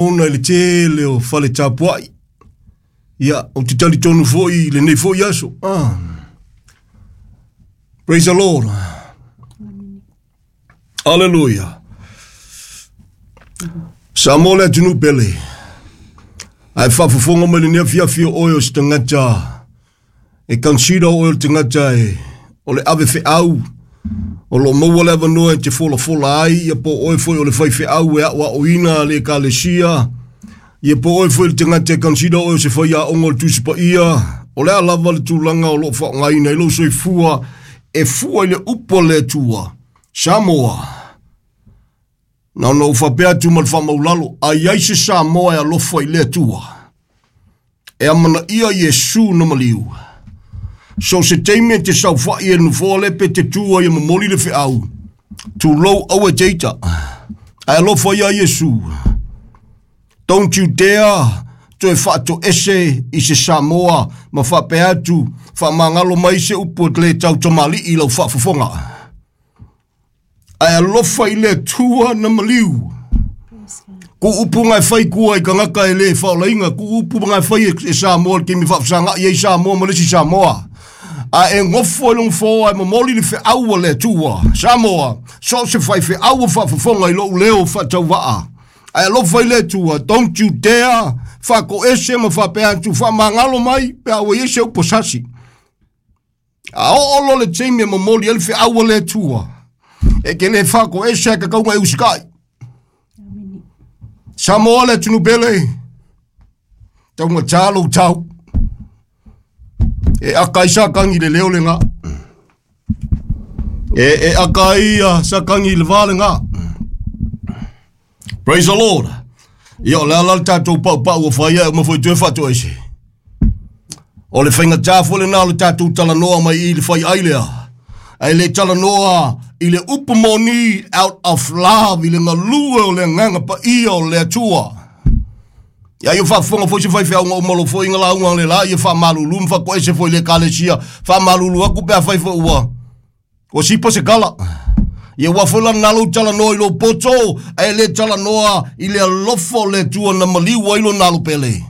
Ona i le tele o fale tapuai. Ia, ou te talitonu foi i lenei foi aso. Ah. Praise the Lord. Hallelujah. Samoa le atunuu pele. Ae faafofoga mai lenei afiafi o oe o se tagata e consider oe o le tagata e o le ave feau o lo o maua le avanoa e te folafola ai, ia po o oe foi o le faifeau e aoaoina le ekalesia, ia po o oe foi le tagata e consider oe o se faiaoga o le Tusi Paia, o le a lava le tulaga o lo o faaaogaina ai lou soifua e fua i le upu a le Atua. Samoa, na ona ou faapea atu ma le faamaulalo, a i ai se Samoa e alofa i le Atua, e amanaia Iesu na maliu. So se taimi e te saofai e nofoa le pe te tu ai e momoli le feau, tulou aua e te ita. Ae alofa ia Iesu. Don't you dare toe faatoese i se Samoa ma faapea atu, faamagalo mai se upu e le tau tamalii i lau faafofoga. Ae alofa i le Atua na maliu. Ku upu ngai fai kua i kangaka e le whaolainga, ku upu ngai fai e Samoa le kimi whaafsanga i Samoa ma lesi Samoa. A e ngofo i long fōa e momoli le wheaua le Atua. Samoa, so se whai wheaua whaafofonga i lou leo whaatauvaa. Ae alofa i le Atua, don't you dare whakoese ma whapea atu whamangalo mai pe a ua i se upo sasi. A oo lo le taimi e momoli ai le feau a le Atua. E ke le whakoese a ka kaunga e usikai. Samoa le atunuu pele. Taunga tā lou tau. E aka ai sa kangi le leo le ngā. E aka ai sa kangi le vā le ngā. Praise the Lord. Ia o le ala le tātou pau pau o whaia e uma foi toe whatoese. O le whainga tā fo le nā le tātou talanoa mai i le whai ai lea. Ai le talanoa i le upu moni out of love i le ngalue o le nganga pa ia o le Atua. Ia ia whaafonga foi se whai whiaunga o malo foi ngā launga le la ia wha malulu mwha ko ese foi le kalesia wha malulu aku pea whai fo ua. O sipo se kala. Ia ua foi la nalo talanoa i lo poto e le talanoa i le alofa o le Atua na maliu ai lo nalo pele.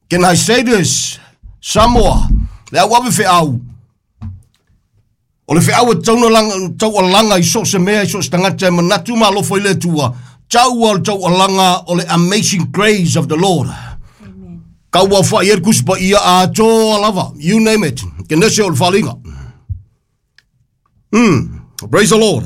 Can I say this? Samoa, le au ave wheau. O le wheau e taualanga i so se mea i so se tangata e manatu ma alofa i le Atua. Tau o le taualanga o le amazing grace of the Lord. Kaua whai e kusipa ia a toa lava. You name it. Ke nese o le whalinga. Praise the Lord.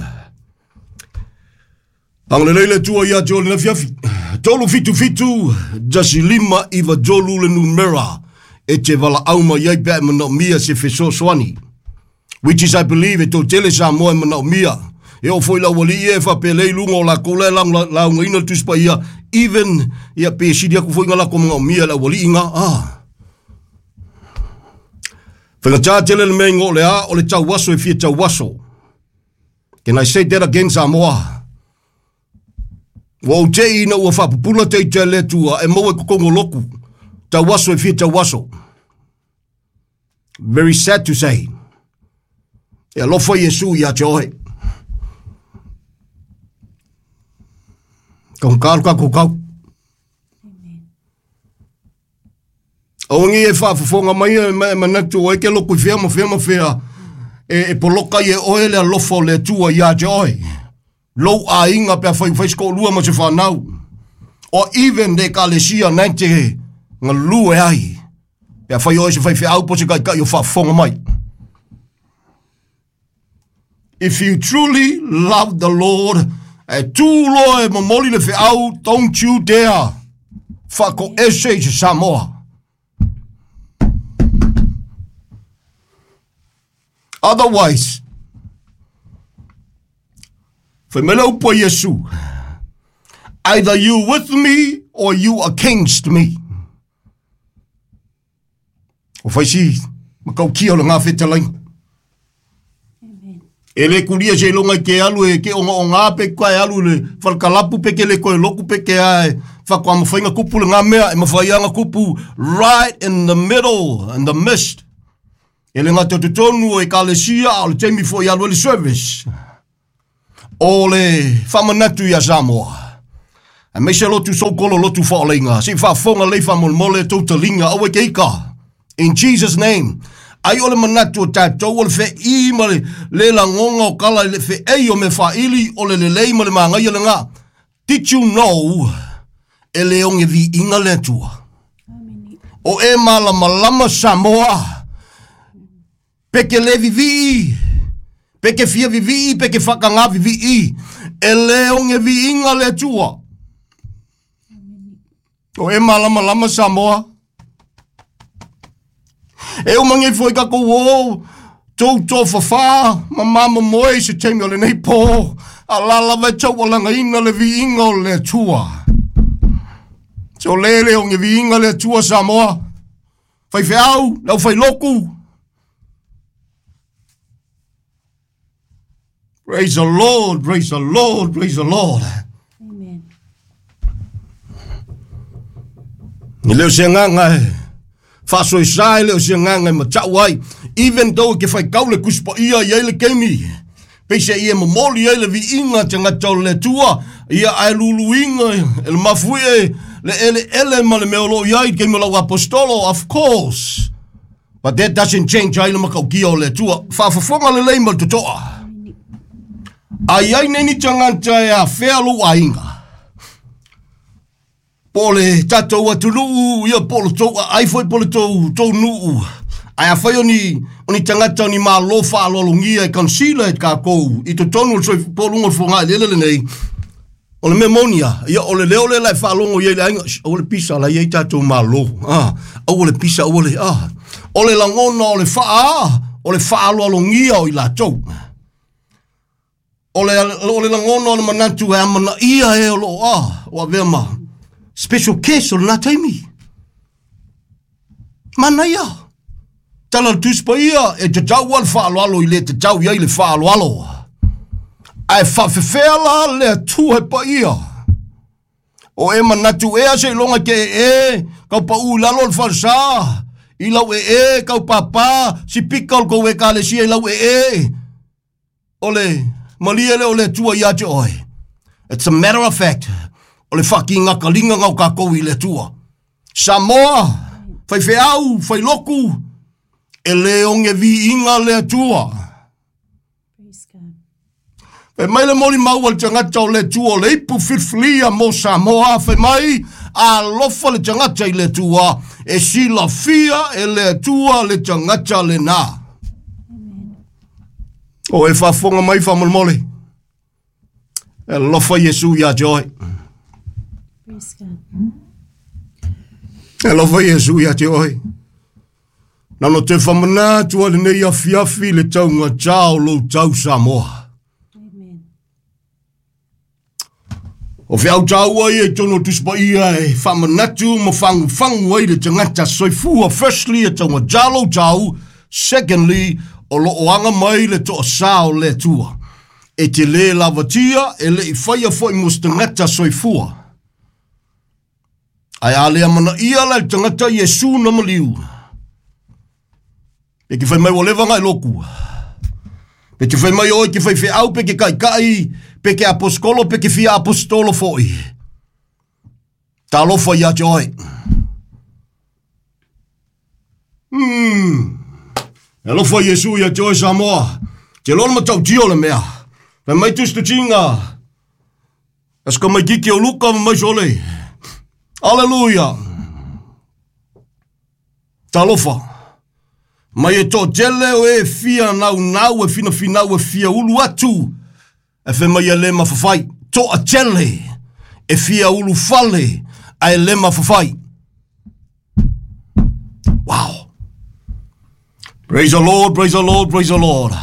Angalelei le Atua ia te o le nafiafi. Tolu fitu fitu, jasi lima iwa jolu le numera. E te wala auma iai pea e manaomia se fesoasoani. Which is, I believe, e tō tele Samoa e manaomia. E o foi lau ali e whapelei lunga o la kole launga ina tuspa ia. Even, ia pe siri aku foi ngā lako manaomia lau ali inga. Ah. Whainga tā tele le mea ingo le a, o le tauaso e fia tauaso. Can I say that again, Samoa? Ua ou te ina ua whapupula te i te le tua e maua e kokongo loku. Tauaso e fia tauaso. Very sad to say. E alofa Iesu ia te ohe. Ka hunkaru ka kukau. Awangi e whaafofonga mai e manatu o e ke loku i whia ma whia ma whia e poloka i e oe le alofa o le Atua ia te ohe. Lou a inga pea whai whai sko lua ma se whanau. O even le kalesia nei te ngalu e ai. Pea whai oe se whai whia au po se kai kai o whaafofonga mai. If you truly love the Lord, e tū loa e momoli le whiau, don't you dare whako ese i se Samoa. Otherwise, whai mele upo Yesu, either you with me or you against me. O whai si, makau kia o le ngā whetalainga. E le kuria se longa i ke alu e ke onga onga pe ka e alu le whalkalapu pe ke le koe loku pe ke ae whakwa mawhainga kupu le ngā mea e mawhaianga kupu right in the middle, in the midst. E le ngā te tonu e kalesia o le taimi fo i alu e le service. O le whamanatu ia Samoa. Aemaise lotu soukolo lotu faaoleiga. Se i faafofoga lelei faamolemole tou taliga aua e te ika. In Jesus name. Ai o le manatu o tatou o le feii ma le le lagoga o kala i le feei o mea faaili o le lelei ma le magaia lena. Did you know e le oge viiga le Atua? O e malamalama Samoa. Pe ke le vivii, pe ke fia vivii, pe ke whakangā vivii, e le oge viiga le Atua. O e malamalama Samoa. E uma nei foi kakou o tou tofafā ma mamomoe i se taimi o lenei pō, a la lava e taualagaina le viiga o le Atua. Se o le le oge viiga le Atua Samoa. Faifeau, le aufailoku. Praise the Lord, praise the Lord, praise the Lord. Amen. E le o se agaga e faasoesa, e le o se agaga e matau ai. Even though ke faitau le Tusi Paia i ai le taimi, peiseai e momoli ai le viiga tagata o le Atua, ia ae luluina e le mafuie le eleele ma le mea o lo o i ai i le taimi o lau apostolo, of course. But that doesn't change ai le matautia o le Atua. Faafofoga lelei ma le totoa. A i ai nei ni tagata e afea lou aiga, po o le tatou atunuu, ia po o le tou aai foi po o le tou, tou nuu, ae afai o ni, o ni tagata o ni malo faaaloalogia e consider e tatou i totonu o le soif- po o luga o le fogaeleele lenei, O le mea moni lava, ia o le leo lea la e faalogo i ai le aiga, shh, aua le pisa, la e i ai tatou malo. Ah, aua le pisa, aua le, ah. O le lagona o le faa, o le faaaloalogia o i latou. O le, o le lagona o le manatu e amanaia e o loo, ah, o avea ma special case o lena taimi. Manaia. Tala le Tusi Paia, e tatau lava le faaaloalo i le tatau i ai le faaaloalo. Ae faafefea la le Atua e paia? O e manatu ea seiloga ke ee, kau paʻu i lalo o le falesa, i lau ee, kau pāpā, sipika o le kou ekalesia i lau ee. O le malie lea o le Atua ia te oe. It's a matter of fact, o le faakigakaliga na o tatou i le Atua. Samoa, faifeau, failoku, e le oge viiga le Atua. Fai mai le molimau a le tagata o le Atua o le ipu filifilia mo Samoa, fai mai, alofa le tagata i le Atua, e silafia e le Atua le tagata lena. O e faafofoga mai faamolemole. E alofa Iesu ia te oe. Praise God. E alofa Iesu ia te oe. Na ona toe faamanatu a lenei afiafi le taugata o lou tau Samoa. Amen. O feau taua ia i totonu o Tusi Paia e faamanatu ma fagufagu ai le tagata soifua. Firstly, e taugata lou tau. Secondly, o lo o aga mai le toasā o le Atua. E te lē lavatia, e le i faia foi mo se tagata soifua. Ae a le amanaia la e le tagata Iesu na maliu, pe ke fai mai ua leva na e loku. Pe te fai mai oe ke faifeau, pe ke kaikai, pe ke aposkolo, pe ke fia apostolo foi. Talofa ia te oe. E alofa Iesu ia te oe Samoa. Te loa le matautia o le mea. Fai mai tusi tutinga. Aso ka mai kiki o Luka ma mai sole. Aleluia. Talofa. Mai e toatele o e fia naunau e finafinau e fia ulu atu. E fai mai e le mafafai. Toatele e fia ulu fale ae le mafafai. Wow. Praise the Lord, praise the Lord, praise the Lord.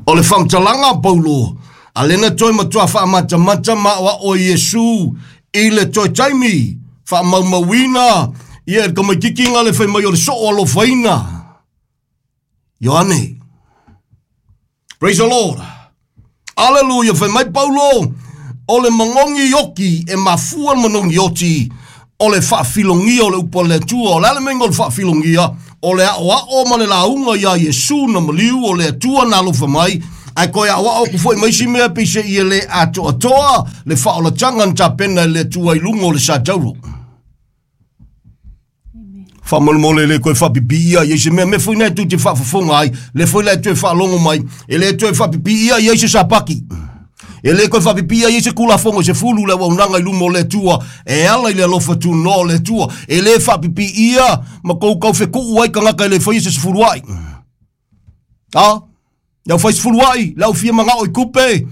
O le faamatalaga a Paulo, a lena toe matua faamatamata ma aoao e Iesu i le toe taimi, faamaumauina ia e le tamaitiiti le fai mai o le soo alofaina. Ioane. Praise the Lord. Aleluia, fai mai Paulo, o le manogi oti e mafua le manogi oti o le faafilogia o le upu a le Atua. O le a le mea o le faafilogia? O le aoao ma le lauga iā Iesu na maliu o le Atua na alofa mai, Ae koe aoao aku fo'i ma isi mea peise'i e lē atoatoa le faaolataga na tapena e le Atua i luga o le satauro. Faamolemole le toe faapipiia i ai se mea. Mea foi na e tou te faafofoga ai, lea foi la e toe faalogo mai, e le toe faapipiia i ai se sapaki. E le toe faapipiia i ai se Tulafono e 10 le auaunaga i luma o le Atua e ala i le alofa tunoa o le Atua. E le faapipiia ma tou taufetuu ai tagata e le faia se 10 ai. A, le au fai 10 ai, le au fia manao i tupe,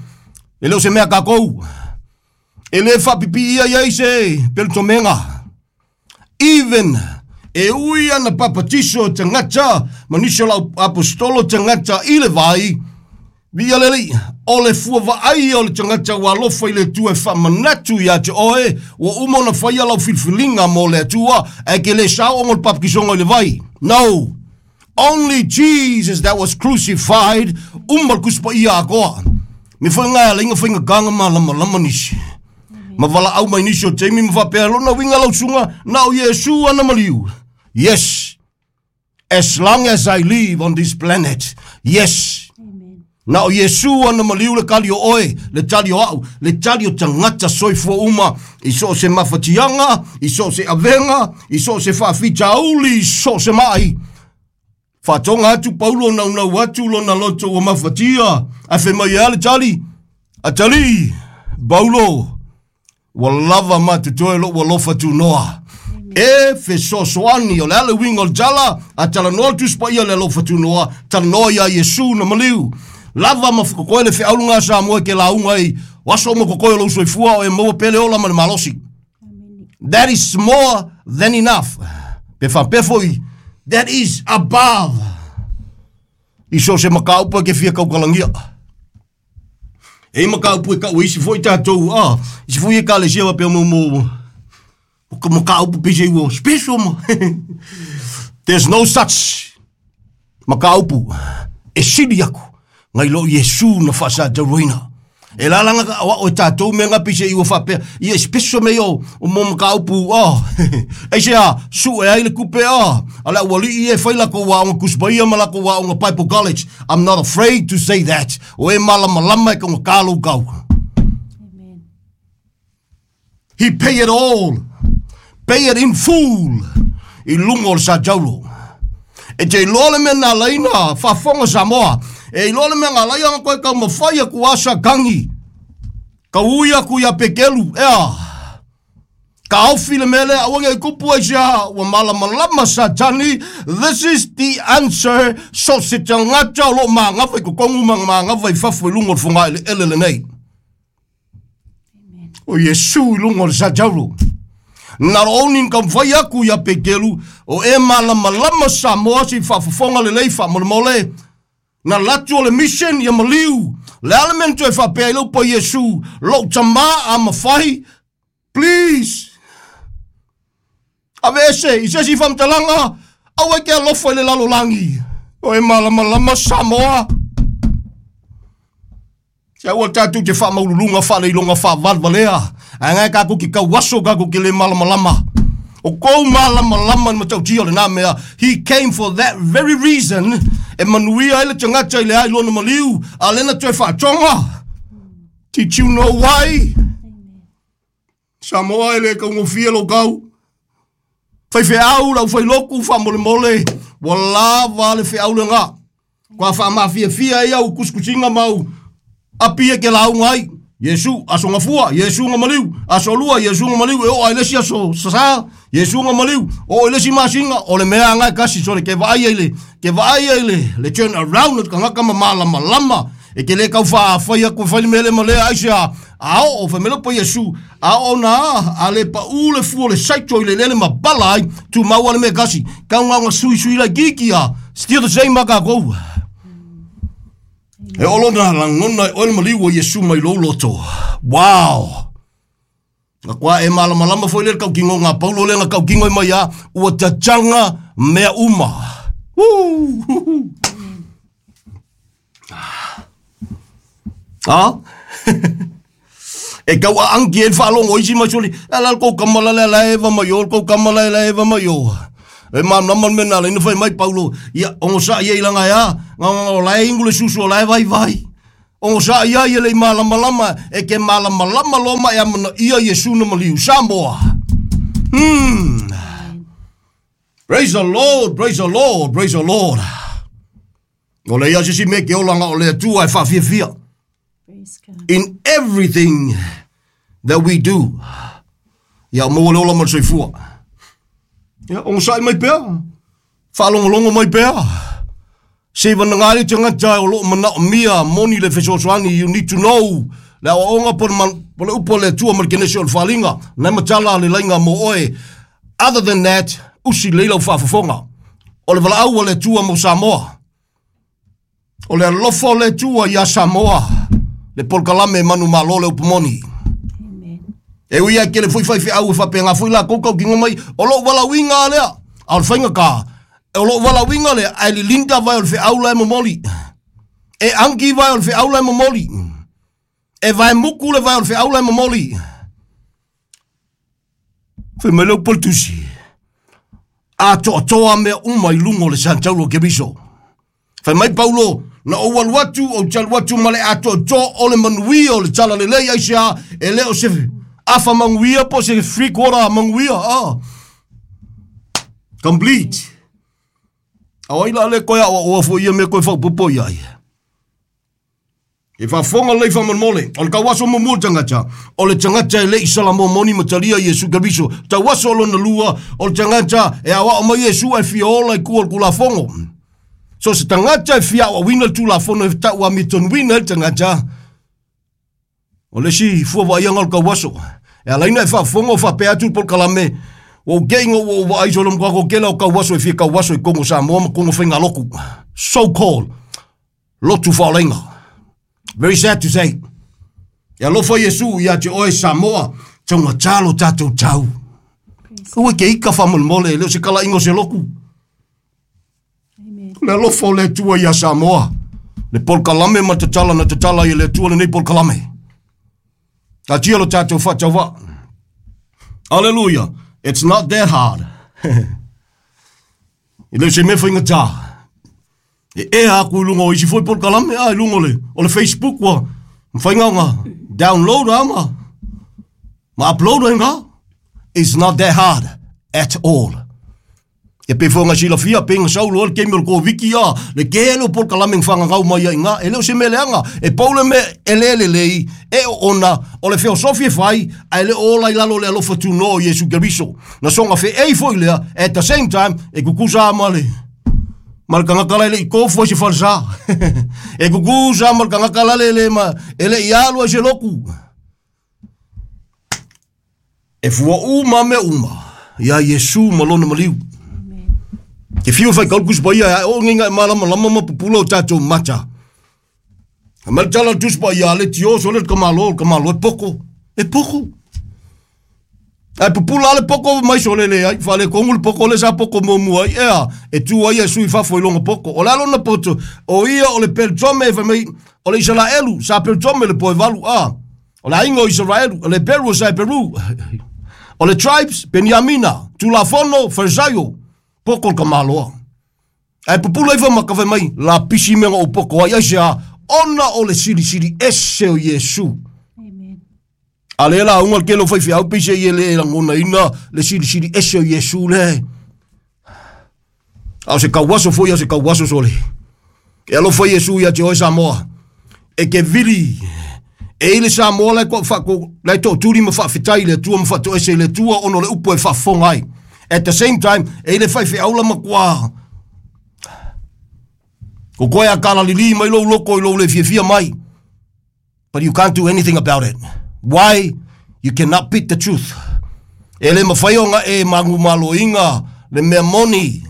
e le o se mea tatou. E le faapipiia i ai se pelutomega. Even e ui ana papatiso tagata ma nisi o lau apostolo tagata i le vai, viia le Alii, o le fua vaai o le tagata ua alofa i le Atua e faamanatu ia te oe, ua uma ona faia lau filifiliga mo le Atua, ae ke le sao ona o le papatisoga i le vai. No! Only Jesus that was crucified, uma le Tusi Paia atoa. Me foi ngā ala inga whainga kānga mā lama lama nisi. Ma wala au mai nisi o taimi ma whapea lona winga lau sunga, na o Iesu ana maliu. Yes. As long as I live on this planet. Yes. Amen. Na o Iesu ana maliu le kali o oe, le tali o au, le tali o tagata soifua uma, i so o se mafatiaga, i so o se avega, i so o se faafitauli, i so o se ma'i. Faatoga atu Paulo naunau atu lona loto ua mafatia, ae fai mai e a le tali? Atalii, Paulo, ua lava ma totoe lo'u alofa tunoa. E fesoasoani, o le a le uiga o le tala, a talanoa le Tusi Paia i le alofa tunoa, talanoa iā Iesu na maliu. Lava ma totoe le feau lena a Samoa e ke lauga ai, o aso uma totoe o lou soifua o e maua pea le ola ma le malosi. That is more than enough. Pe faapea foi, that is above. I so se mataupu e ke fia tautalagia. E i mataupu e tau e isi foi tatou, ah, isi foi ekalesia faapea mo mo mo mataupu pei se ua special ma. There's no such mataupu e sili aku ngai lo Iesu na faasatauroina. E lalanga ka o e tatou mea nga pei se ua faapea, ia special me o o mo mataupu, oh. E se a, su e ai le kupe, oh. A le aualii e fai lakou aoga Tusi Paia ma lakou aoga Bible College. I'm not afraid to say that. O e malamalama e kaugata lou kau. Amen. He pay it all. Pay it in full. I luga o le satauro. E te iloa le mea na ala ai na faafofoga Samoa. E iloa le mea na ala ai ona toe taumafai atu asa tagi. Tau ui aku ia Pekelu, ea. Taofi le mea lea, aua ne i tupu ai se aha, ua malamalama Satani, this is the answer, so se tagata o lo o magafa i totonu ma magafa i fafo i luga o le fogaeleele lenei. O Iesu i luga o le satauro. Not only na taumafai aku ia Peteru, o e malamalama Samoa se i faafofoga lelei faamolemole, na latu o le mission ia maliu. Le a le mea na toe faapea ai le upu a Iesu, lou tamā a mafai, please, aveese i se isi faamatalaga, aua e te alofa i le lalolagi. O e malamalama Samoa. Se aua tatou te faamaululuga faaleiloga faavalevalea, ae gae tatou te tauaso tatou te le malamalama. O kou malamalama i le matautia o lena mea, he came for that very reason, e manuia ai le tagata i le ai lona maliu, a lea na toe faatoga. Did you know why? Samoa e le taugofie lou tau. Faifeau lau failotu faamolemole, ua lava le feau lena. Kua faamafiafia ai au kusikusiga ma au api e ke lauga ai. Iesu, aso gafua, Iesu na maliu, aso lua, Iesu na maliu, e oo ai le isi aso sasā, Iesu na maliu, oo i le isi masina, o le mea lena e kasi, sole ke vaai ai le, ke vaai ai le, le turn around o le tagata ma malamalama, e te le tau faafai atu e fai le mea lea ma lea, aisea, a oo, fai mai le upu a Iesu, a oo na a le paʻū le fua o le saito i le eleele ma bala ai, tumau lava le mea e tasi, tau na ona suisui laitiiti a, still the same a tatou. E oo lona lagona e oe le maliu o Iesu mai lou loto. Wow! Na kua e malamalama foi le le tautino ngā Paulo le na tautino i mai a, ua tataga mea uma. Woo! A? E tau aangi ai le faalogo o isi mai soli, e ala le kou kama la le ala eva mai o, le kou kama la le eva mai o. E malamalama le mea na ala ai na fai mai Paulo, ia, ogosaʻi ai laga e a, na o la e inu le susu o la e vaivai. Ogosaʻi ai e le i malamalama e ke malamalama loa ma e amanaia Iesu na maliu. Samoa. Praise the Lord, praise the Lord, praise the Lord. O le ia sisi me ke olanga o le Atua e whaafiafia. Praise God. In everything that we do. Ia maua le ola ma le soifua. Ia, ogosaʻi mai pea. Faalogologo mai pea. Se vanaga le tagata o loo manaomia moni le fesoasoani. You need to know le aoaoga po po le upu a le Atua ma le kenese o le faaaliga. Nai matala le laiga mo oe. Other than that, usi lelei lau faafofoga. O le valaau a le Atua mo Samoa. O le alofa o le Atua ia Samoa. Le polokalame manumalo le upu moni. Amen. E ui ai kele foi faifeau e faapega foi lakou tautino mai o lou valaauina lea. A o le faiga ka, o lou valaauina lea, ae lilinda vae o le feau la e momoli. E angi vae o le feau la e momoli. E vae muku le vae o le feau la e momoli. Fai mai le upu a le tusi. Atoatoa mea uma i luga o le sataulo o Keriso. Fai mai Paulo, na ou alu atu, ou te alu atu ma le atoatoa o le manuia o le talalelei aisea e le o se afa manuia po o se 3/4 manuia. Ah. Complete. A o ai la le koe aoaoa foi ia mea koe faaopoopo i ai. E faafofoga lelei faamolemole, o le tauaso muamua o le tagata, o le tagata e le i Salamo moni ma talia Iesu Keriso. Tauaso lona lua, o le tagata e aoao mai Iesu ae fia ola i tua o le Tulafono. So se tagata e fia aoaoina le Tulafono e tau amiatonuina ai le tagata, o le isi fua vaaiaga o le tauaso. E ala ai ona e faafofoga o faapea atu le polokalame, ua ou te ina ua ou vaai solo matua toatele o tauaso e fia tauaso i totonu o Samoa ma totonu o faigalotu. So called lotu faaolaina. Very sad to say. E alofa Iesu ia te oe Samoa, taugata lo tatou tau. Aua e te ika faamolemole, e le o se kalaiga o se lotu. Amen. O le alofa o le Atua ia Samoa. Le polokalame ma le tatala na tatala ai e le Atua lenei polokalame. Taatia lo tatou faatauvaa. Hallelujah. It's not that hard. E le o se mea faigata. E ea aku i luga o isi foi polokalame, a i luga o le Facebook ua mafai ona download a ma upload ai ngā. It's not that hard at all. E pei foi ona silafia, pei na sau loa le taimi o le Koviti, a, le tele o polokalame na fagagau mai ai i ina, e le o se mea leaga. E pau le mea e le lelei, e oona, o le feosofi e fai, ae le o ola i lalo o le alofa tunoa o Iesu Keriso. Na soga feei foi lea, at the same time, e tutusa lava ma le, ma le tagata la e le i tofu ai se falesa. E tutusa lava ma le tagata la le le ma, e le i alu ai se lotu. E fua uma mea uma iā Iesu ma lona maliu. Ke fiu e faitau le Tusi Paia e ae oo nei ina e malamalama ma pupula o tatou mata. A mai le tala a le Tusi Paia, a le tio sole le tamaloa, o le tamaloa e poko, e poko. Ae pupula lava le poko mai sole leai, faaletonu le poko lea sa poto muamua ai, ea, e tu ai Iesu i fafo i lona poto. O le a lona poto? O ia o le Peltome, fai mai, o le Isaraelu, sa Peltome le poe valu, a. O le aiga o Isaraelu, o le Heperu o sa Heperu, o le tribes, Peniamina, Tulafono, Farisaio, poto le tamaloa. Ae pupula ifo ma ka fai mai, lapisi mea na ou poto ai, aisea, ona o le silisili ese o Iesu. Amen. A lea lauga le tele o faifeau peiseai e le lagonaina le silisili ese o Iesu le. A o se tauaso foi a o se tauaso sole. E alofa Iesu ia te oe Samoa. E ke vili e i le Samoa la e faako, la e tootuli ma faafetai i le Atua ma faatoese i le Atua ona o le upu e faafofoga ai. At the same time, e i le faifeau la matua ko koe a kalalili mai lou loko i lou le fiafia mai. But you can't do anything about it. Why? You cannot beat the truth. E le mawhai o nga e manumaloinga le mea moni.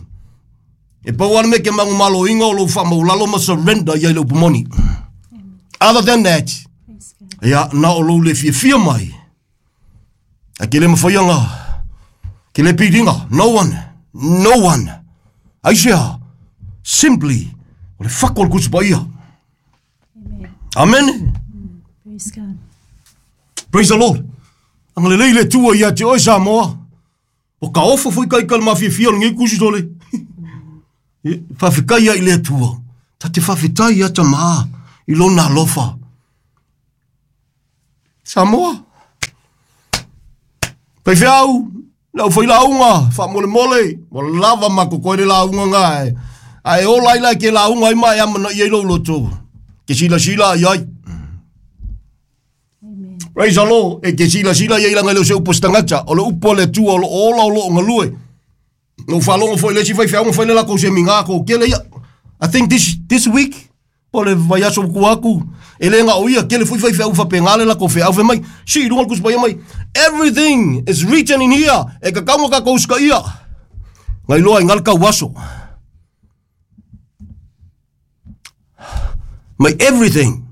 E pau lava le mea ke manumaloinga o lou faamaulalo ma surrender i ai le upu moni. Other than that, ia, na o lou le fiafia mai. A ke le mawhai anga, ke le piringa, no one, no one. Aisea, simply, o le whako o le Tusi Paia. Amen. Amen. Praise God. Praise the Lord. Agalelei le Atua ia te oe Samoa. O ka ofo foi kai ka le mafiafia o lenei kusi tole. Faafetai ai i le Atua. Ta te faafetai ia tamā i lona alofa. Samoa. Faifeau, le aufailauga faamolemole, ua lava ma kokoe le lauga ga e. Ae ola ai la ke lauga ai ma e amanaia i lou loto. Ke silasila i ai. Amen. Praise the Lord. E ke silasila i ai laga e le o se upu a se tagata. O le upu a le Atua o lo o ola o lo o galue. Na ou faalogo foi i le isi faifeau na fai le latou seminar ko kele ia. I think this week po o le vaiaso ua tua atu e le na o ia kele foi faifeau faapena le latou feau fai mai sii i luga le Tusi Paia mai everything is written in here e tatau ona tatou usitaia. Na iloa ai na le tauaso. Mai everything.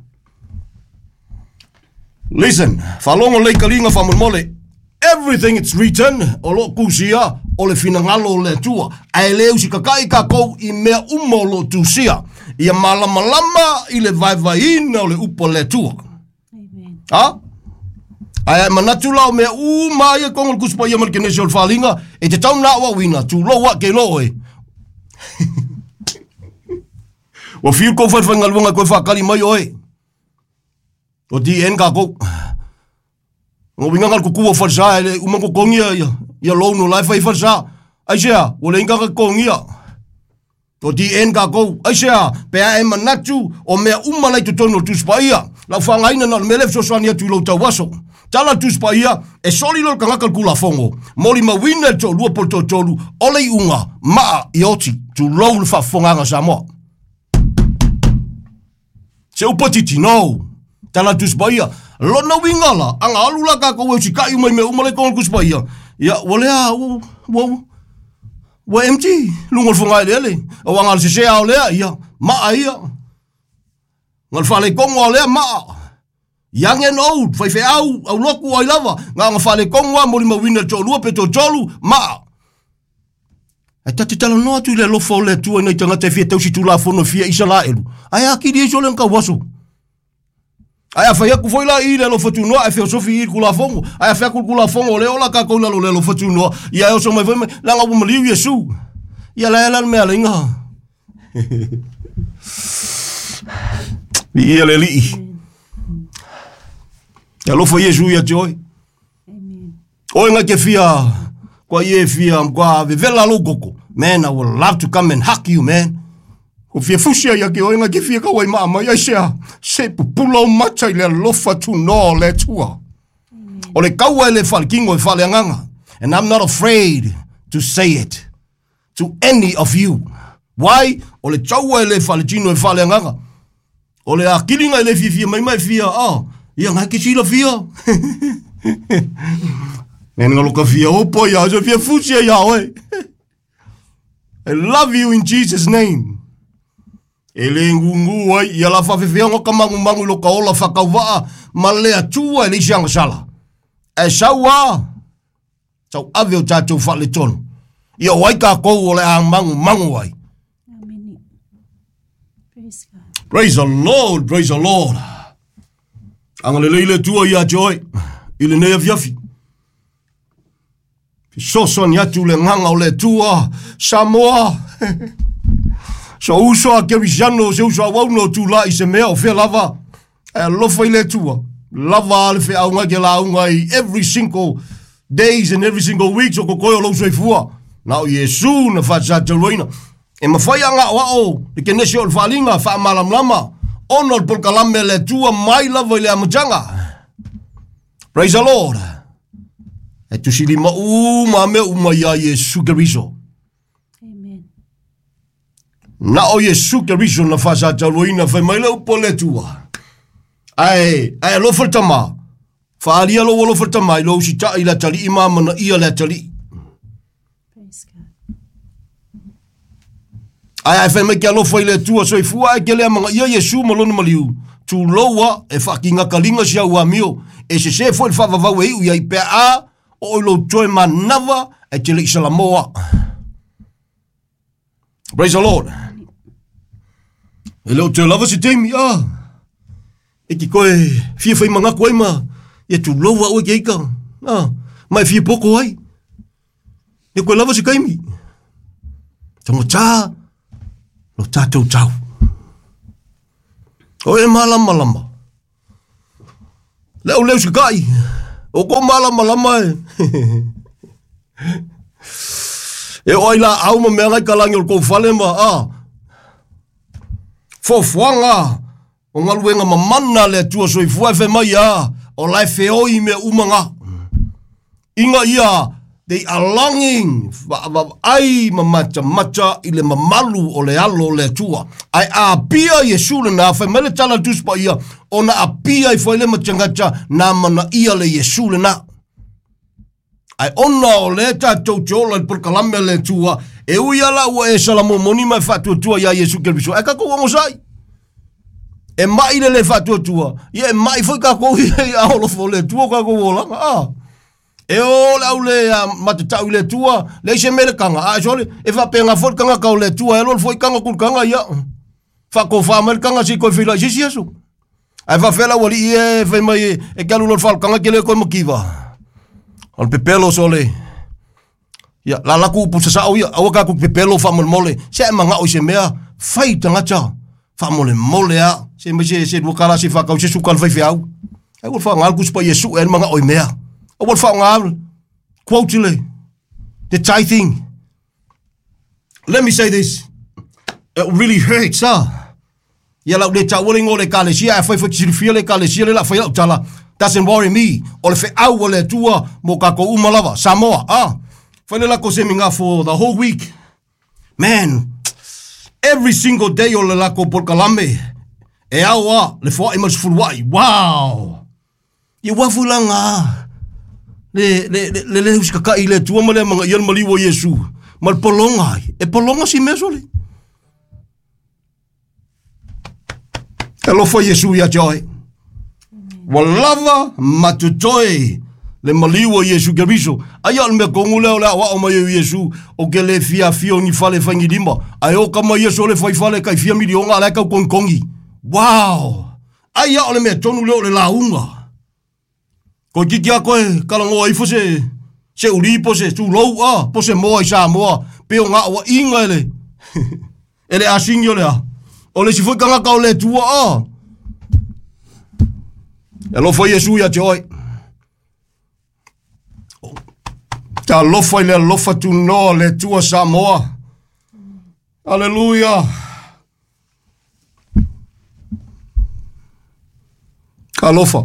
Listen, faalogo lelei taliga faamolemole. Everything it's written, o lo o tusia, o le finagalo o le Atua. Ae le usitatai tatou i mea uma o lo o tusia. Ia malamalama i le vaevaeina o le upu a le Atua. Amen. Ha? Ae a e manatu la o mea uma ia i totonu o le Tusi Paia ma le Kenese o le Faaaliga, e te tau na aoaoina, tulou a ke loa oe. Ua fiu kou faifaigaluega e toe faatali mai oe. O DN kākou. O uiga na le tutu o falesa e le uma ona totogi ia loan o la e fai ai falesa. Aisea, ua leai ni tagata totogia. O DN kākou. Aisea, pe a e manatu o mea uma la i totonu o le Tusi Paia. Lau faagaina na o le mea lea e fesoasoani atu i lou tauaso. Tala le Tusi Paia, e soli loa le tagata le Tulafono, molimauina e le toalua po o le toatolu, o le iuga, maa ia oti. Tulou le faafofogaaga a Samoa. Se upu titi, no. Tala Tusi Paia. Lona uiga la, aga alu la kākou e usita'i uma i mea uma la i totonu o le Tusi Paia, ia, ua lea, ua, ua, ua empty luga o le fogaeleele. Aua na o le sese lava o lea, ia, maa ia. Na o le faaletonu lava o lea, maa. Young and old, faifeau, aulotu, o ai lava, na ona faaletonu lava, molimauina e le toalua pe toatolu, maa. Ae ta te talanoa atu i le alofa o le Atua i nai tagata e fia tausi tulafono e fia Isalaelu, ae atili ai sole na tauaso. Ae a fai atu foi la i le alofa tunoa, ae feosofi i le Tulafono, ae a fai atu le Tulafono o lea ola tatou i lalo o le alofa tunoa, ia e oso mai foi mai, leaga ua maliu Iesu. Ia la e la le mea a le inga. Viia le Alii. E alofa Iesu ia te oe. Amen. Oe ngai ke fia, kua ie fia, kua vevela lou koko. Man, I would love to come and hug you, man. Ko fia fusi ai ake oe ngai ke fia kau ai maa mai, ai sea, se pupula o mata i le alofa tunoa o le Atua. O le kaua e le whalekingo e whaleanganga. And I'm not afraid to say it to any of you. Why? O le taua e le whaletino e whaleanganga. O le akiliga e le fiafia mai ma e fia, oh, ia ngai ke silafia. Nena lo ka fia opo ia, so fia fusi ia oe. I love you in Jesus name. E le ngungu ai, ia la whawhewhea ka mangu mangu i lo ka ola whakauvaa, ma le atua e le isi agasala. E sau a, sau ave o tātou whaletonu. Ia o ai kākou o le a mangu mangu ai. Amen. Praise God. Praise the Lord, praise the Lord. Agalelei le Atua ia te oe i lenei afiafi. Fesoasoani atu le agaga o le Atua, Samoa. So uso a Kerisiano, se uso a uauna o tulai i se mea o fea lava. E alofa i le Atua. Lava a le feauga ke lauga i every single days and every single week o kokoe o lou soifua. Na o Iesu na faasatauaina. E mafai a ga'oa'o le kenese o le faaliga faamalamalama ona o le polokalame a le Atua mai lava i le amataga. Praise the Lord. E tusilima uma mea uma iā Iesu Keriso. Amen. Na o Iesu Keriso na faasatauaina fai mai le upu a le Atua. Ae, ae alofa le tama. Faaalia lou alofa le tama i lou usita'i i le atalii ma amanaia le atalii. Praise God. Ae a e fai mai ke alofa i le Atua soifua ae ke le amanaia Iesu ma lona maliu, tulou a e faakigakaliga si au amio, e sesē foi le faavavau e iu i ai pe a oo i lou toe manava ae te le i salamoa. Praise the Lord. E le o toe lava se taimi, ah. E ki koe fia whai mangaku ai ma ia tulou a oe ke ika. Ah, ma e fia poko ai. E koe lava se kaimi. Tangata, lo tātou tau. O e malamalama. Le au leu sika'i. O ko malamalama e. E o ai la au ma mea ngai kalangi o le kou fale ma a. Foafoaga o galuega mamana a le Atua soifua e fai mai a o la e feoi mea uma ga. Ina ia they are longing vaavaai ma matamata i le mamalu o le alo o le Atua. Ae a apia Iesu lena, fai mai le tala a le Tusi Paia, ona apia ifo ai le matagata na manaia le Iesu lena. Ae ona o lea tatou te ola i le polokalame a le Atua, e ui lava la ua e salamomoni ma e faatuatua iā Iesu Keriso, ae tatou ogosai. E mai le le faatuatua, ia e mai foi tatou ia i aao alofa o le Atua o tatou olaga. A. E o le au le a matatau i le Atua, leai se mea le taga, a sole, e faapena foi le tagata o le Atua, e alu alu foi taga tulitaga, ia, faatofa mai le taga se i toe feiloai i se isi aso. Ae faafefea le aualii ia e fai mai e te alu loa i le faalutaga e te le toe mativa. O le pepelo sole. Ia, la latou upu sasao ia, aua tatou te pepelo faamolemole, se a e manao i se mea, fai tagata, faamolemole lava, se mai se, se $2 se i faatau se suka a le faifeau. Aua le faaaoga le Tusi Paia e sue ai le manao i mea. Aua le faaaoga quote le, the tithing. Let me say this. It really hurts, ah. Ia lau le taua le igoa o le ekalesia, ae afai foi e te silafia le ekalesia lea o le a fai lau tala, doesn't worry me. O le feau a le Atua mo tatou uma lava. Samoa, ah. Fai le lako seminar for the whole week. Man, every single day o le lako polokalame, e ao a le foai ma le sefuluai. Wow! Ia ua foi la ngā le, le, le, le, le usikaka'i i le Atua ma le amanaia le maliu o Iesu ma le pologa ai. E pologa si mea sole. Alofa Iesu ia te oe. Ua lava ma totoe le maliu o Iesu Keriso. Aia o le mea tonu lea o le aoao mai o Iesu, o ke le fia afio ni fale fai ni lima. Ae o ka mai Iesu o le fai fale kai fia miliona a la e tau togitogi. Wow! Aia o le mea tonu lea o le lauga. Toeitiiti lava toe talanoa ifo se se uli po se tulou a po se moa i Samoa pe o gaoaiga e le e le asini o le a. O le isi foi tagata o le Atua a. E alofa Iesu ia te oe. Talofa i le alofa tunoa le Atua Samoa. Aleluia. Talofa.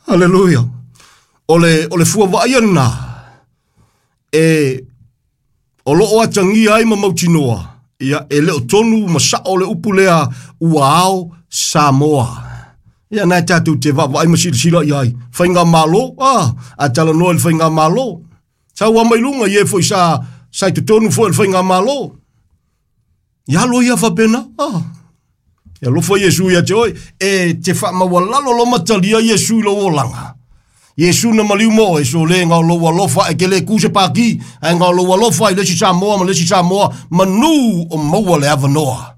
Aleluia. O le, o le fua vaaia lena e o loo atagia ai ma mautinoa, ia e le o tonu ma sao le upu lea ua ao Samoa. Ia na e tatou te vaavaai ma silasila i ai. Faigamalo, ah, a talanoa i le faigamalo. Sau a mai luga i e foi sa, sa i totonu foi o le faigamalo. Ia alo ia faapena. Ah. E alofa Iesu ia te oe, e te faamaualalo lo matalia Iesu i lou olaga. Iesu na maliu mo oe, so le ga o lou alofa e ke le ku se paki, ae ga o lou alofa i le isi Samoa ma le isi Samoa, manu o maua le avanoa.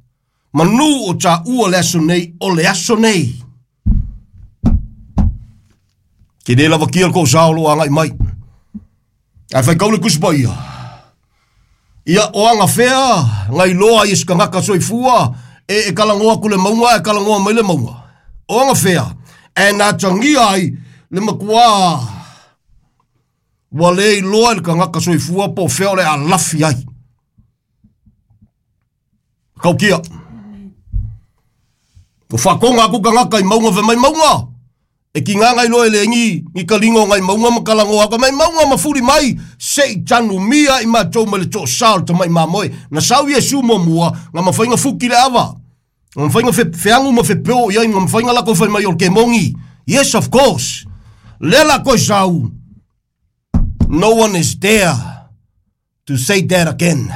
Manu o taua le aso nei, o le aso nei. Ke le lavakia le koʻu sa o loo agai mai. Ae faitau le Tusi Paia. Ia, o agafea na iloa ai e se tagata soifua e, e talanoa atu le mauga ae talanoa mai le mauga. O agafea e na atagia ai le matuā ua le iloa e le tagata soifua po o fea o le a lafi ai. Kaukia. Ua faatoga atu tagata i mauga fai mai mauga. E ki ngā ngai loa e le ngi, ngi ka linga o ngai maunga ma kalangoa atu mai maunga ma fuli mai, se i tanu mia i matou mai le toʻasā o le tamai mamoe. Na sau Iesu muamua, nga mafai na fuki le ava. Nga mafai na fe, feagu ma fepeo i ai, nga mafai na latou fai mai o le kemongi. Yes, of course. Lea latou e sau. No one is there to say that again.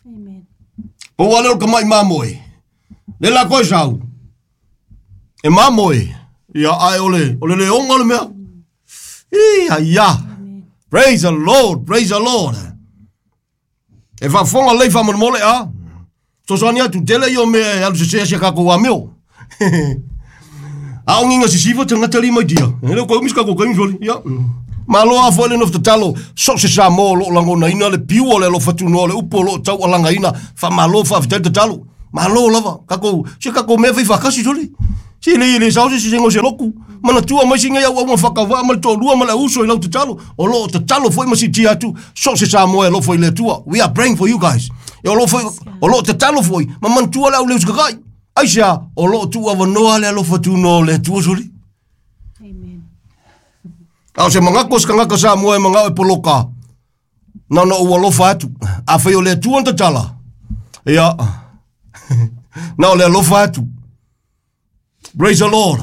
Amen. Pau lea o le tamai mamoe. Le la koe sau. E mamoe. Ia ae o le, o le leoga le mea. Ia, ia. Praise the Lord, praise the Lord. E faafofoga lelei faamolemole a. Fesoasoani atu, tele ia o mea e alu sese ai si a tatou amio. A o ngiga sisifa tagata li mai dia. E le o koe umi se tatou taimi soli. Ia. Malo a foi le nofo tatalo, so o se Samoa o lo o lagonaina le piu o le alofa tunoa o le upu o lo o taualagaina, faamalo faafetai le tatalo. Malo lava, kakou, se kakou mea fai whakasi soli. Se le le sao se se ngo se loku. Mana tua mai singa iau au whakawa ma le to'alua ma le uso i lau tatalo. O lo tatalo foi ma si atu. So se sa moe lo foi le tua. We are praying for you guys. E o lo foi o lo tatalo foi ma mantua le au le usakakai. Aisha o lo tu avanoa le alofa tu no le tua soli. Amen. A o se mangako se kangaka sa moe mangao e poloka. Na na ua alofa atu. A fai o le tua tatala. Ia. Na o le alofa atu. Praise the Lord.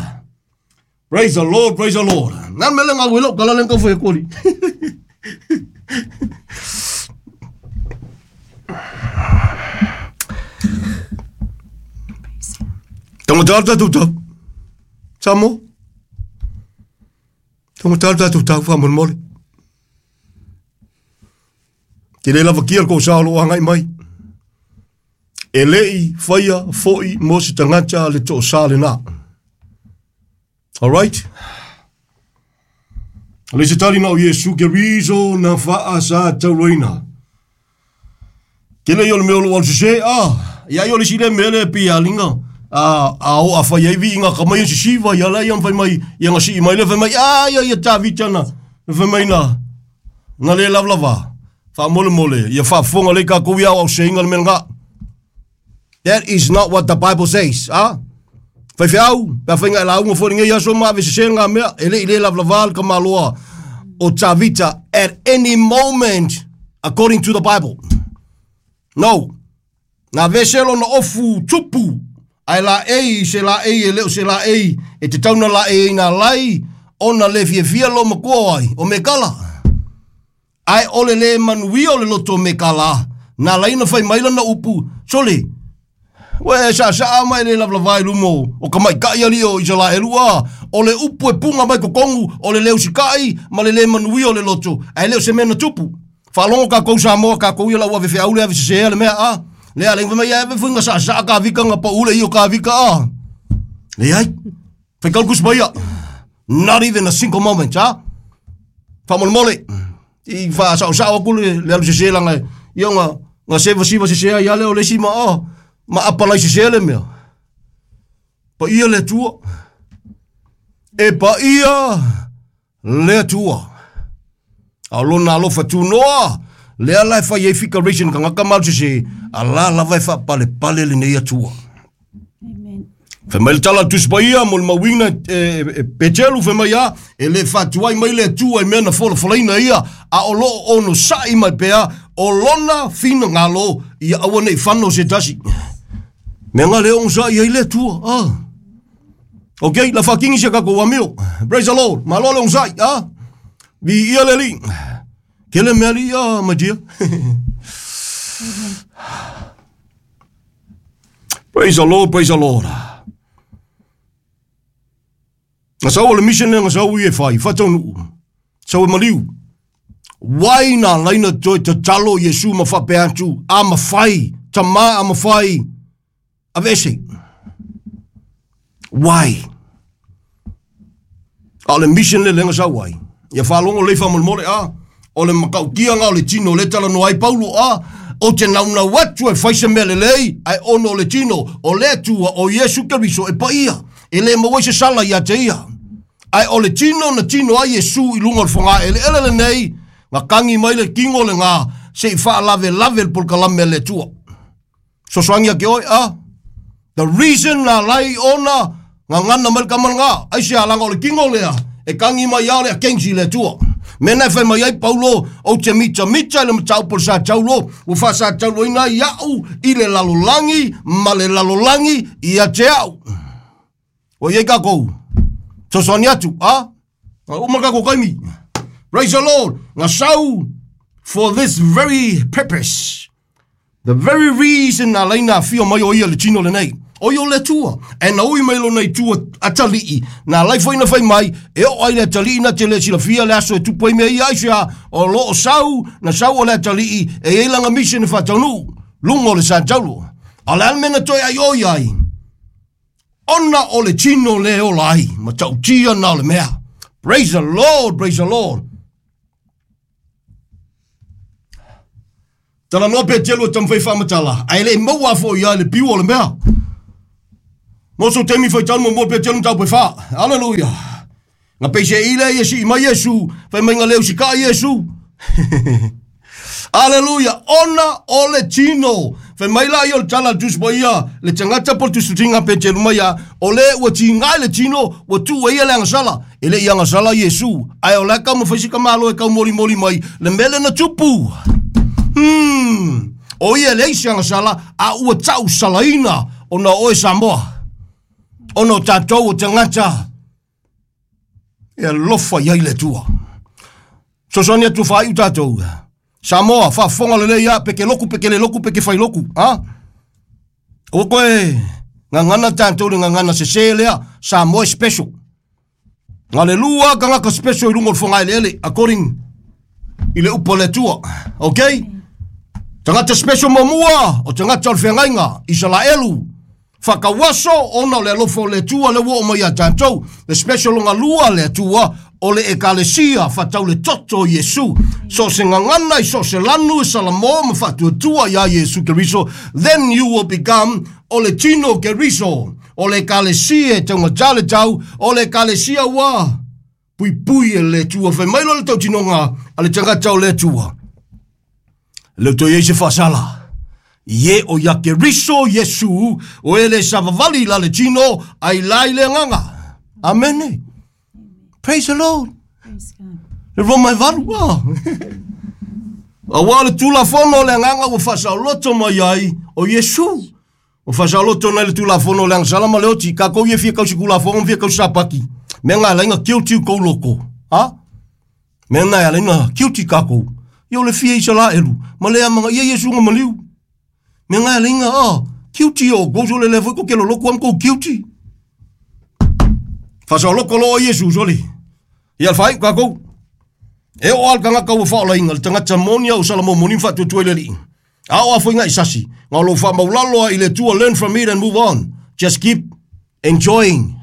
Praise the Lord, praise the Lord. Nā mele ngā welo, kala len kau whai kori. Praise God. Tonga tāru tātou tau. Samo. Tonga tāru tātou tau, wha mole. Te le lava kia ko sa lo angai mai. E lei whaia foi mo se tangata le to sa le nā. All right? Le se tali na o Yesu ke rizo na wha sa tauroina. Ke le yo le meo lo al se a ia yo le si le mele pi alinga a o a whai ai vi inga kamai se siva ia la ia whai mai ia nga si mai le whai mai a ia ia ta vitana le whai mai na na le lava lava wha mole mole ia wha fonga le ka kou ia au se inga le mele. That is not what the Bible says, ah? Whai whiau, pea whainga e la unga fōringa ia so maa se ngā mea, e le i le lava lava ka maloa o Tavita at any moment according to the Bible. No. Nā veselo na ofu tupu, ai la ei, se la ei, e leo se la ei, e te tauna la ei nā lai, ona le fia fia lo makoa ai, o me kala. Ai ole le manuia o le loto me kala, nā lai na whai maila na upu, sole, we sa sa mai le lava lava lumo o ka mai kai ali o isala elua o le upu e punga mai kokongu o le leu sikai ma le le manuia o le loto ai leo se mena tupu whalongo ka kou Samoa ka kou ia lau ave whiaule ave sesea le mea a le ale mai ave funga sa sa ka vika nga pa ule i o ka vika a le ai whaikalkus mai a not even a single moment a whamole i wha sa sa aku le alu sesea langa ia nga nga seva siva sesea ia le o le sima a ma apalai se le mea. Pa ia le tua. E pa ia le tua. A lona alofa tu noa. Le ala e whai e fika reason ka ngaka mau se a la lava e wha pale pale le nei atua. Amen. Whai mai le tala tusi pa ia mo le mauina e petelu whai mai a e le whatuai mai le atua i mea na fola folaina ia a o lo ono sa'i mai pea o lona whina ngalo ia aua nei whano se tasi. Mea ngā leo sa ia i le atua. Ah. Ok, la whakingi se kako wamio. Praise the Lord. Malo le sai. Ah. Vi ia le li. Ke le mea li ia, my dear. Praise the Lord, praise the Lord. Ngā sau o le mission le ngā sau i e whai, whataunu. Sau e maliu. Wai nā laina toi te talo Yesu ma whape atu, a ma whai, tama a ma whai, avese. Wai. A le mission le lenga sau ai. Ia whalongo le wha mole a. O le makaukia ngā o le tino le tala no ai paulo a. O te nauna watu e whaisa mea le lei, ai ono le tino, o le atua o Yesu Keriso e pa ia. E le mawai se sala ia te ia. Ai o le tino na tino ai Yesu i lunga o le whanga ele ele le nei, ngā kangi mai le kingo le ngā, se i wha lave lave le polkalame le atua. Sosoangia ke oi a. The reason na lai ona, ngā ngana mai le kamala ngā, ai se alanga o le kingo lea, e kangi mai au le a kengi le atua. Mena e whai mai ai Paulo, o te mita mita le matau pole sa taulo, ua wha sa taulo ina iau, i le lalolangi, ma le lalolangi, i a te au. O iei kakou, sosoani atu, a? Uma kakou kaimi. Praise the Lord. Ngā sau, for this very purpose. The very reason na laina whio mai o ia le tino le nei. O ia o le tua. E na ui mai lo nei tua atalii. Nā lai whai na whai mai, e o ai le atalii na te le silafia le aso e tupu ai mea ia aisea. O lo o sau, na sau o le atalii, e ei langa mission e whataunu. Lungo le San Taulo. A le almena toi ai oi ai. Ona o le tino le o lai. Ma tautia na o le mea. Praise the Lord, praise the Lord. Talanoa Peteru e taumafai e faamatala, ae le i maua foi ia le piu o le mea. Mo sou taimi faitau muamua Peteru mataupu e fa. Aleluia. Na peisei lea ia sii mai Iesu, fai mai na le usikaa Iesu. Aleluia, ona o le tino. Fai mai la ia o le tala a le Tusi Paia, le tagata po o le tusitusiga a Peteru mai ia, o le ua tiga i le tino, ua tuu ai ia le agasala. E le i agasala Iesu, ae o la e taumafai si tamaloa e taumolimoli mai le mea lea na tupu. O ia e leai se agasala, a ua tausalaina ona o oe Samoa, ona o tatou o tagata e alofa i ai le Atua. Sosoani atu faaiu tatou. Samoa, faafofoga lelei a, pe ke loku, pe ke le loku, pe ke fai loku. Ha? Aua koe gagana tatou le gagana sese lea, Samoa e special. Na le lua tagata special i luga o le fogaeleele, according i le upu a le Atua. Okay? Tagata special muamua, o tagata o le feagaiga, Isalaelu, Faatauaso ona o le alofa o le Atua lea ua oo mai ia tatou. Le special lona lua le Atua o le Ekalesia faatau le toto o Iesu. So o se gagana i so o se lanu e salamo ma faatuatua iā Iesu Keriso, then you will become o le tino o Keriso, o le Ekalesia e taugata le tau, o le Ekalesia ua puipui e le Atua. Fai mai loa le tautinoga a le tagata o le Atua. Le toe i ai se faasala. Ie o ia Keriso Iesu, o e le savavali la le tino, ai la i le agaga. Amene. Praise the Lord. Praise God. Le Roma e valu, ah. Aua le Tulafono o le agaga ua faasaoloto mai ai o Iesu. Ua faasaoloto nai le Tulafono o le agasala ma le oti. Kakou ia fia kausi Tulafono ma fia kausi Sapati. Mea na ala ai na guilty u kou loko. Ha? Mea na e ala ai na guilty kakou. Ia o le fia Isalaelu, ma le amanaia Iesu na maliu. Mea na e ala ai na, ah, guilty o kou sole lea foi ko ke loloku am kou guilty. Faasaoloko loa Iesu sole. Ia le faaiu kakou. E oo lava le tagata ua faaolaina, le tagata moni a o Salamo moni ma faatuatua i le Alii. A o a foi ngaʻi sasi, nga o lou faamaulalo a i le Atua, learn from it and move on. Just keep enjoying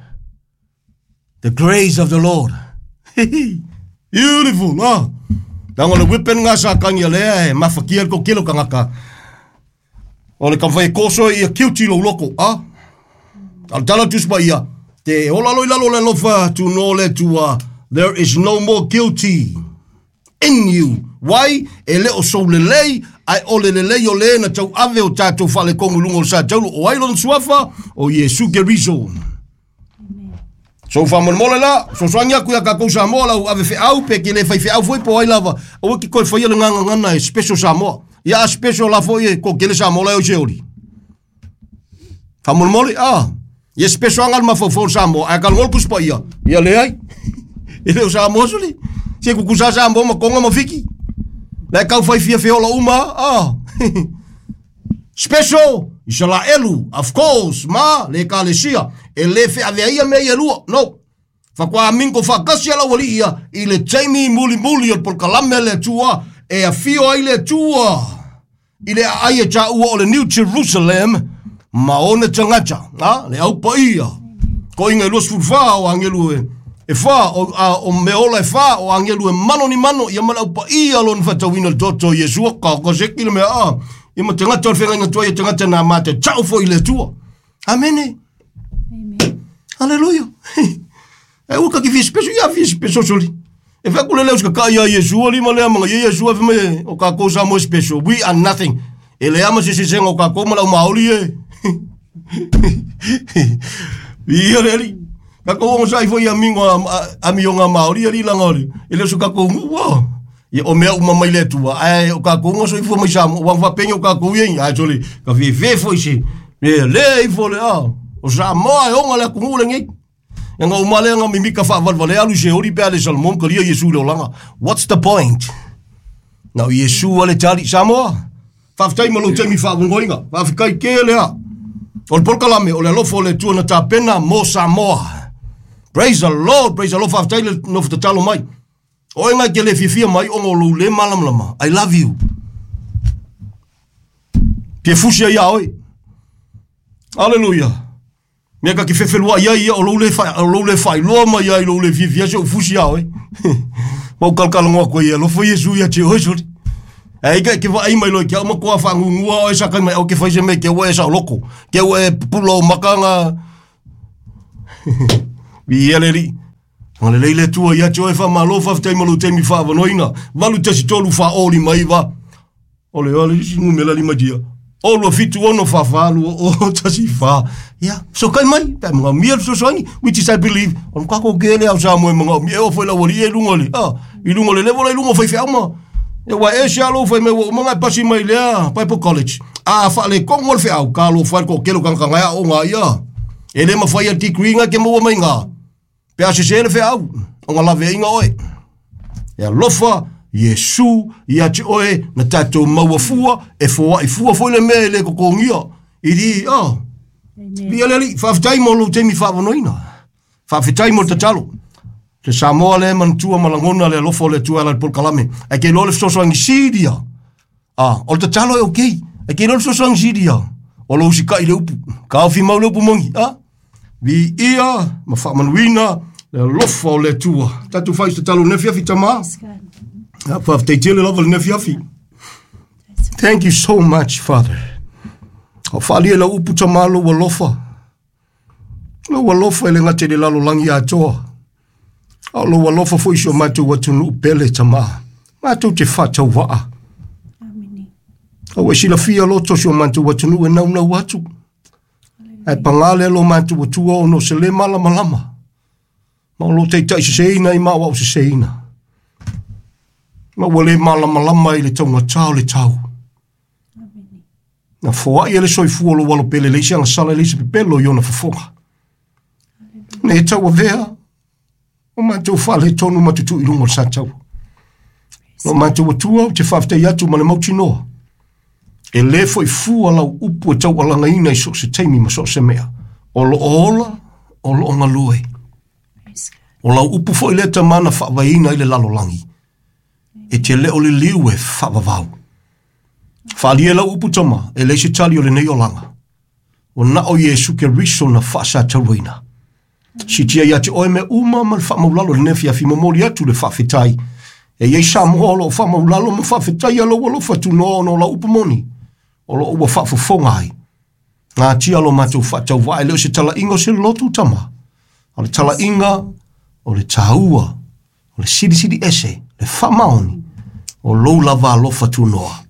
the grace of the Lord. Beautiful, ah. Leaga o le weapon nga sa kangi a lea e mafatia le toatele o tagata. O le taumafai e koso ia guilty lou loko, ah. A o le tala o le Tusi Paia, te ola loa i lalo o le alofa tunoa o le Atua, there is no more guilty. In you. Wai, e le o sou lelei, ae o le lelei o le na tauave o tatou faaletonu i luga o le sa taulu, o ai lona suafa? O Iesu Keriso. So faamolemole la, sosoagi aku iā kakou Samoa lau ave feau pe ke le fai feau foi po o ai lava, aua ke toe faia le gagagana e special Samoa. Ia a special la foi e toatele Samoa la e oi se oli. Faamolemole, ah, ia special aga le mafaufau o le Samoa, ae talanoa le Tusi Paia, ia leai. E le o Samoa sole. Se kukusa Samoa ma Tonga ma Fiti. La e tau fai fia feola uma, ah. Special, Isalaelu, of course, ma le Ekalesia. E le feaveaia ia mea ia e lua, no. Faatoa mingo faatasi a le aualii ia i le taimi mulimuli o le polokalame a le Atua e afio ai le Atua i le aai e taua o le New Jerusalem ma ona tagata, a, le au paia. Koiga e 24 o agelu e, e fa, o, a, o mea ola e fa, o agelu e mano ni mano, ia ma le au paia lona faatauina le toto o Iesu, ka, ka seki le mea, a, ia ma tagata o le feagaiga tuai e tagata na ma te tau foi i le Atua. Amene. Amen. Aleluia. E ua kaki fia special ia fia special soli. E fai aku le leo ka ia Iesu ali ma lea manga ia Iesu afe mai o kākou Samoa special. We are nothing. E lea ma se se o kākou ma lau maoli e. Ia le ali. Kākou ongo sai foi amigo amionga maoli ali langa oli. E leo so kākou ngua. Ia o mea uma mai le Atua, ae o kākou nga soifua mai Samoa, ua faapeni o kākou ia, ae sole, ka fefe foi se, le le ifo le a, o Samoa e oga le atunuu lenei. Ia nga uma lea nga mimika faavalevale alu i Seoli pe a le Salomon kalia Iesu i le olaga. What's the point? Na o Iesu a le tali. Samoa, faafetai ma lou taimi faavongoina. Faafetai tele a. O le polokalame, o le alofa o le Atua na tapena mo Samoa. Praise the Lord, praise the Lord. Faafetai le nofo tatalo mai. O oe ngai ke le fiafia mai ona o lou le malamalama. I love you. Ke fusi ai ia oe. Aleluia. Mea ka ki fefeluaʻi ai ia o lou le fa, o lou le faailoa mai ai lou le fiafia se ou fusi ia oe. Ma ou kalakalanoa aku ai e alofa Iesu ia te oe soli. Ai ka ke vai mai lo ke au matua whaangungua o e sa kai mai au ke whaise me ke ua e sa loko. Ke ua e pupula o makanga. Vi ia le li. Nga le leile tua ia te oe wha malo whawhitai malo teimi whaawanoina. Valu tasi tolu wha oli mai wa. Ole ole isi numela lima dia. O lua fitu ono wha wha lua o tasi wha. Ia, so kai mai, pe mga mia so soangi, which is I believe, on kako kele au sa moe mga mia o foi la wali e lunga le. Ah, i lunga le level i lunga whai whia ma. E wa e sia lo whai me wa mga pasi mai lea, Bible College. Ah, wha le kongo le whia au, ka lo whai ko kelo kanga kanga o ngā ia. E le mawhai a degree ngā ke maua mai ngā. Pe a se le whia au, o ngā lave inga oe. E alofa, Iesu, ia te oe, na tātou maua fua, e fua i fua foi le mea e le kokongia. I di, oh, Via le ali, whaafetai mo lo teimi whaawanoina. Whaafetai mo te tatalo. Te Samoa le mantua malangona le alofa o le tua ala le polokalame. Ai ke lo le fesoasoani siria. Ah, o le tatalo e okay. Ai ke lo le fesoasoani siria. O lo usikai le upu. Ka ofi mau le upu mongi. Ah, vi ia, ma whaamanuina, le alofa o le tua. Tatu whai se tatalo ne fiafi tama. Whaafetai tele lava le ne fiafi. Thank you so much, Father. O whaalia la upu tama lo alofa. Lo alofa e le ngate le lalo langi atoa. O lo alofa foi so mātou atunu pele tama. Mātou te whātau waa. O e silafia loto so mātou atunu e nau nau atu. Ai pangale lo mātou atua ono se le malama lama. Ma o lo teitai se seina i maa wau se seina. Ma ua le malama lama i le taunga tau le tau. Na foai ele soifua lo walo pele leisi anga sala leisi pepelo i ona fofoga. Ne tau avea, o mātou whale tonu matutu i lunga o sa tau. No mātou atua o te whawhitai atu ma le mautinoa. E le foi fua lau upu e tau alanga ina i so se teimi ma so se mea. O lo ola, o lo ngalue. O lau upu foi le tamana whaavaina i le lalolangi. E te leo le liu e whaavavau. Whaalia lau upu tama, e leise tali o le nei olanga. O na o Iesu ke riso na whaasa tauina. Si tia ia te oe me uma ma le whaamaulalo le nefia fi momoli atu le whaafetai. E iei Samoa o lo whaamaulalo ma whaafetai a lau alofa tu noa ono lau upu moni. O lo ua whaafofonga ai. Ngā tia lo mātou whaatau vae leo se tala inga o se lotu tama. O le tala inga, o le tāua, o le siri siri ese, le whaamaoni. O lou lava alofa tu noa.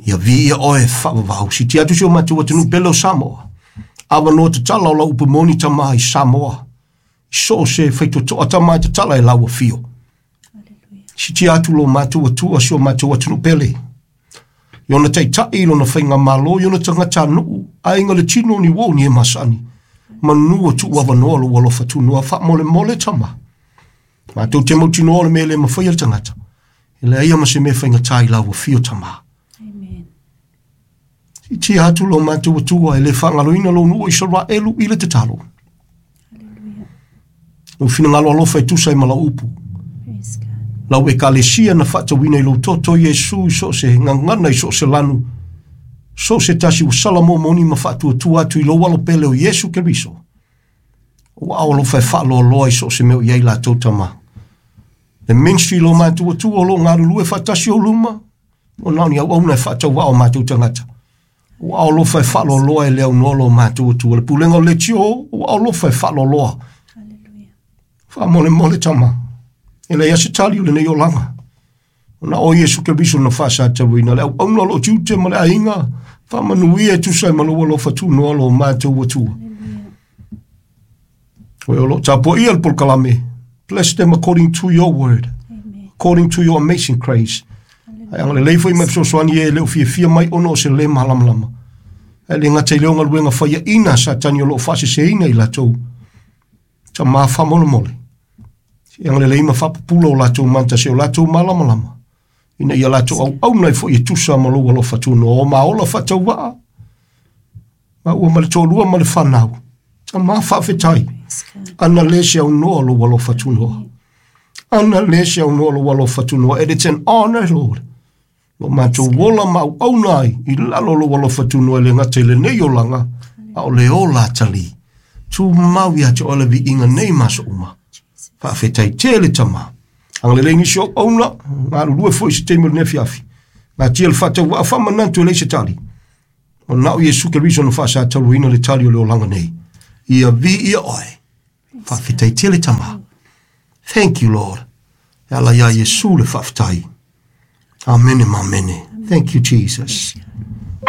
Ia vi ia oe whaavavau. Si tia atu si o mātou atunu pele o Samoa. Awa noa te tala o lau upu moni tama i Samoa. I so se whaitotoa tama i te tala e lau whio. Si tia atu lo mātou atua si o mātou atunu pele. Iona teitai, lona whainga malo, iona tangata nuu, ainga le tino ni wo ni e masani. Manu tu awa noa lo alofa tu noa wha mole mole tama. Mātou te mautinoa o le mele mawhai al tangata. E le aia ma se me whainga tai lau whio tama. I tia atu lo mātou atua e le whangaloina lo nua i Israelu i le te talo. O whina alofa e tusa i mala upu. Lau e kalesia na whaatawina i lo toto Iesu i so se ngangana i so se lanu. So se tasi o salamo moni ma whaatua tua atu i lo walo pele o Iesu Keriso. O au alofa e whaaloa i so se meo iai la tau tama. Le ministry lo mātou atua o lo ngarulu e whaatasi o luma. O nani au auna e whaatawa o mātou tangata. O au alofa e whaaloa e leo noa lo mātou atua. Le pulenga o le tio, o au alofa e whaaloa. Wha mole mole tama. E le ia se tali o le nei olanga. O na o Iesu Keriso na whaasa tawina. Le au auna lo tiute ma le ainga. Wha manuia e tusa e malo alofa tu noa lo mātou atua. O lo tapo ia le polokalame. Bless them according to your word. Amen. According to your amazing grace. Ai anga le leifo i mai fesoasoani e leo fia fia mai ono o se le malamalama. Ai le ngata i leo ngaluenga whaia ina sa tani o lo whaase i latou. Ta maa whamolemole. Si anga le leima whapupula o latou manta se o latou malamalama. Ina ia latou au au nei fo i tusa ma lo alofa tu no o maola whatau waa. Ma ua ma le tōlua ma le whanau. Ta maa whaafetai. Ana le se au noa lo alofa tu noa. Ana le se au noa lo alofa tu noa. And it's an honor, Lord. Lo mātou wola mau au nai i lalo lo alofa tu noa le ngate le nei olanga. A o le ola tali. Tu mau ia te ole vi inga nei maso uma. Whaafetai tele tama. Anga le lengi sio auna, ngā lulue foi se teimi o le nefi afi. Gatia le faatauvaa faamanatu e leai se tali. Ona o Iesu Keriso na faasataluaina le tali o le olaga nei. Ia viia oe. Faafetai tele Tama. Thank you, Lord. E ala iā Iesu le faafetai. Amene ma amene. Thank you, Jesus.